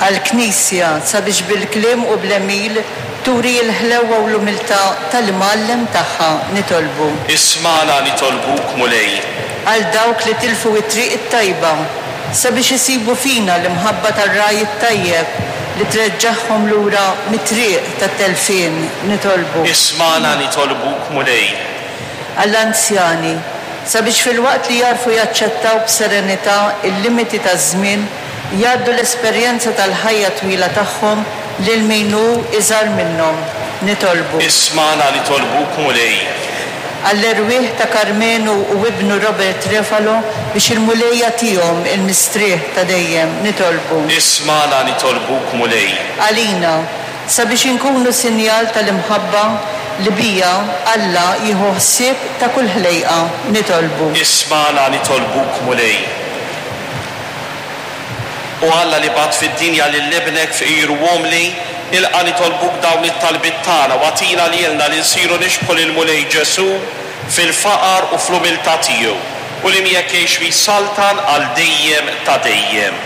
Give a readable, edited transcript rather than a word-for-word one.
Għall-Knisja, sabiex bil-kliem u bl-għemil turi l-ħlewwa u l-umiltà tal-Imgħallem tagħha, nitolbu. Ismagħna nitolbuk, Mulej. Għal dawk li tilfu t-triq it-tajba, sabiex isibu fina l-imħabba tar-Ragħaj it-Tajjeb li treġġagħhom lura mit-triq tat-telfien, nitolbu. Ismagħna nitolbuk, Mulej. Għall-anzjani, sabiex filwaqt li jagħrfu jaċċettaw b'serenità l-limiti taż-żmien, jgħaddu l-esperjenza tal-ħajja twila tagħhom lil min hu iżgħar minnhom. Nitolbu. Ismagħna nitolbuk, Mulej. Għall-erwieħ ta' Karmenu u ibnu Robert Refalo biex il-Mulej jagħtihom il-mistrieħ ta' dejjem. Nitolbu. Ismagħna nitolbuk, Mulej. Għalina, sabiex inkunu sinjal tal-imħabba li biha Alla jieħu ħsieb ta' kull ħlejqa. Nitolbu. Ismagħna nitolbuk, Mulej. O Alla li bgħatt fid-dinja lil Ibnek fqir u umli, ilqa' nitolbuk dawn it-talbiet tagħna u agħtina lilna li nsiru nixbħu lill-Mulej Ġesù fil-faqar u fl-umiltà tiegħu, u li miegħek jgħix u jsaltan għal dejjem ta' dejjem.